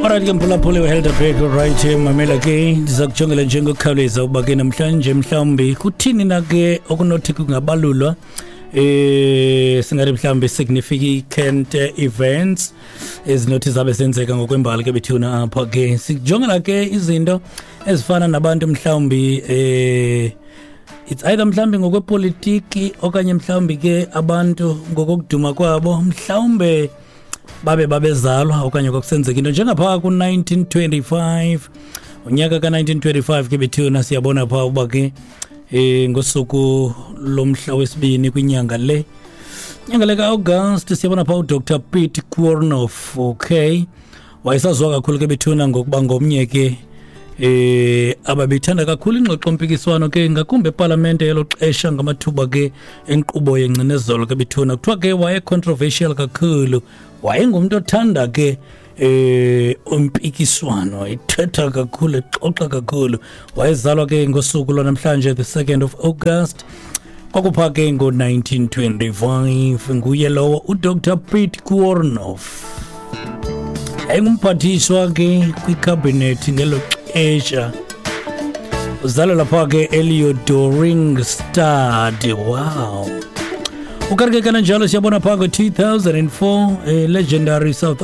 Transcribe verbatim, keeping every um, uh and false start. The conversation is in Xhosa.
Alright ke mphulaphuli weHelderberg, right, mamela ke, ndiza kujongela njengokukhawuleza ukuba ke namhlanje mhlawumbi kuthini na ke okunothi kungabalulwa, eh singathi mhlawumbi significant events ezinothi zabe zenzeka ngokwembali ke bethuna. Apha ke sikujongela ke izinto ezifana nabantu mhlawumbi, eh it's either mhlawumbi ngokwepolitiki okanye mhlawumbi ke abantu ngokokuduma kwabo, mhlawumbe babe babezalwa okanye kwakusenzeka into njengaphaa ku-nineteen twenty-five, unyaka ka-nineteen twenty-five ke bethuna. Siyabona phaa uba ke eh ngosuku lomhla wesibini kwinyanga le nyanga le ka-August, siyabona phaa uDr Piet Koornhof. Okay, wayesaziwa kakhulu ke bethuna ngokuba ngomnye ke eh ababethanda kakhulu ingxoxo-mpikiswano ke, ngakumbi epalamente yelo xesha, ngamathuba ke enkqubo yengcinezelo ke bethuna. Kuthiwa ke waye-controversial kakhulu, wayengumntu othanda ke eh umpikiswano, ethetha kakhulu, exoxa kakhulu. Wayezalwa ke ngosuku lwanamhlanje, the second of August, kwakupha ke ngo-nineteen twenty-five. Nguye lowo uDr Piet Koornhof, yayingumphathiswa ke kwikhabhinethi ngelo xesha. Uzalwa lapha ke eLeeudoringstad. Wow. Ukanti ke kananjalo siyabona phaa ngo-two thousand four, eh, legendary South